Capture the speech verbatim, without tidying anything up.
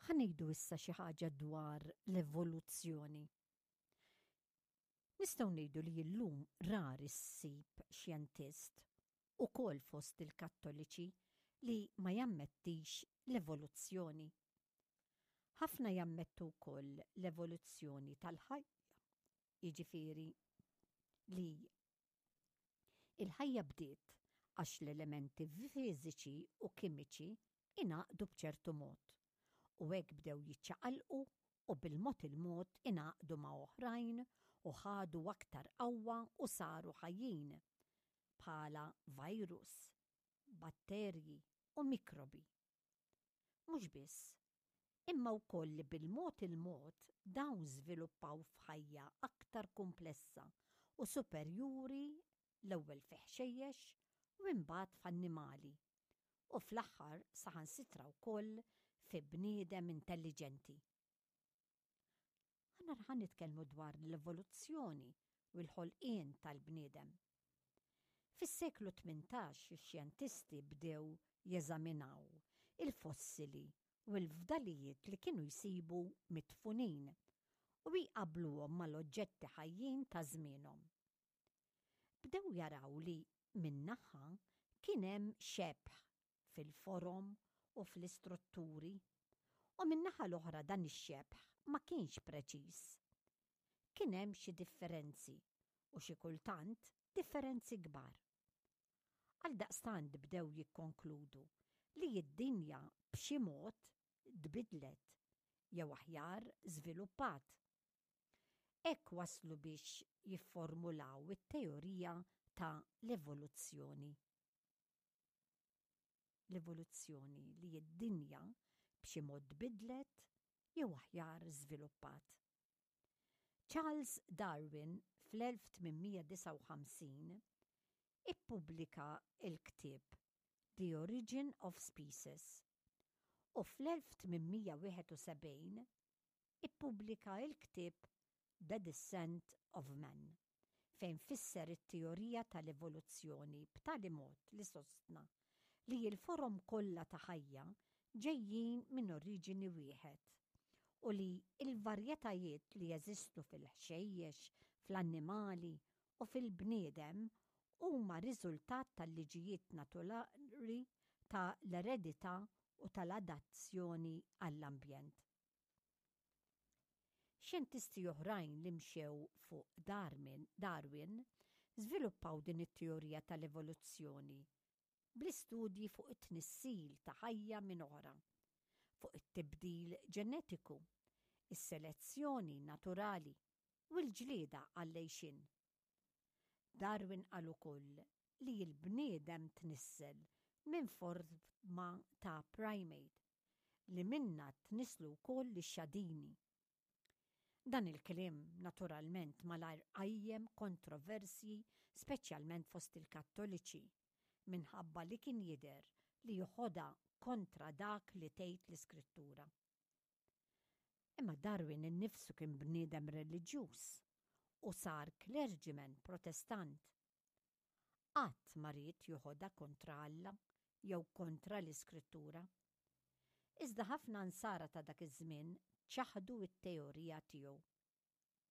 Ħa ngħidu issa xi ħaġa dwar l-evoluzzjoni. Nistgħu ngħidu li llum rari ssib xjentist, ukoll fost il-Kattoliċi, li ma jammettix l-evoluzzjoni. Ħafna jammettu wkoll l-evoluzzjoni tal-ħajja, jiġifieri li il-ħajja bdiet għax l-elementi fiżiċi u kimiċi ingħaqdu b'ċertu mod u hekk bdew jiċċaqalqu u bil-mod il-mod ingħaqdu ma' oħrajn u ħadu aktar qawwa u saru ħajjin bħala virus, batterji u mikrobi. Mhux biss, imma wkoll li bil-mod il-mod dawn żviluppaw f'ħajja aktar komplessa u superjuri, l-ewwel fi ħxejjex u imbagħad f'annimali u fl-aħħar saħansitra wkoll fi bniedem intelliġenti. Aħna ħa nitkellmu dwar l-evoluzzjoni u l-ħolqien tal-bniedem. Fis-seklu tmintax ix-xjentisti bdew jeżaminaw il-fossili u l-fdalijiet li kienu jsibu midfunin u jqabluhom mal-oġġetti ħajjin ta' żmienhom. Bdew jaraw li min-naħa kien hemm xebh fil-forom u fl-istrutturi u min-naħa l-oħra dan ix-xebh ma kienx preċiż. Kien hemm xi differenzi u xi kultant differenzi kbar. Għaldaqstant bdew jikkonkludu li d-dinja b'xi mod tbidlet jew aħjar żviluppat. Hekk waslu biex jifformulaw it-teorija ta' l-evoluzzjoni. L-evoluzzjoni li d-dinja b'xi mod tbidlet jew aħjar żviluppat. Charles Darwin fl-elf tmien mija disgħa u ħamsin ippubblika il-ktieb The Origin of Species u fl-elf tmien mija wieħed u sebgħin ippubblika il-ktieb The Descent of Man, fejn fisser it-teorija tal-evoluzzjoni b'tali mod li sostna li l-forom kollha ta' ħajja ġejjin minn oriġini wieħed u li il-varjetajiet li jeżistu fil-ħxejjex, fl-annimali u fil-bniedem huma riżultat tal-liġijiet naturali ta' l-eredità u tal-adazzjoni għall-ambjent. Xjentisti oħrajn li mxew fuq Darwin, Darwin żviluppaw din it-teorija tal-evoluzzjoni bl-istudji fuq it-tnissil ta' ħajja minn oħra, fuq it-tibdil ġenetiku, is-selezzjoni naturali u l-ġlieda għall-għixien. Darwin qal ukoll li l-bniedem tnissel minn forma ta' primate li minna tnislu wkoll ix-xadini. Dan il-kliem naturalment malajr qajjem kontroversji, speċjalment fost il-Kattoliċi, minħabba li kien jidher li joħodha kontra dak li tgħid l-Iskrittura. Imma Darwin innifsu kien bniedem reliġjuż u sar clergyman Protestant. Qatt ma ried joħodha kontra Alla jew kontra l-Iskrittura. Iżda ħafna nsara ta' dak iż-żmien ċaħdu it-teorija tiegħu.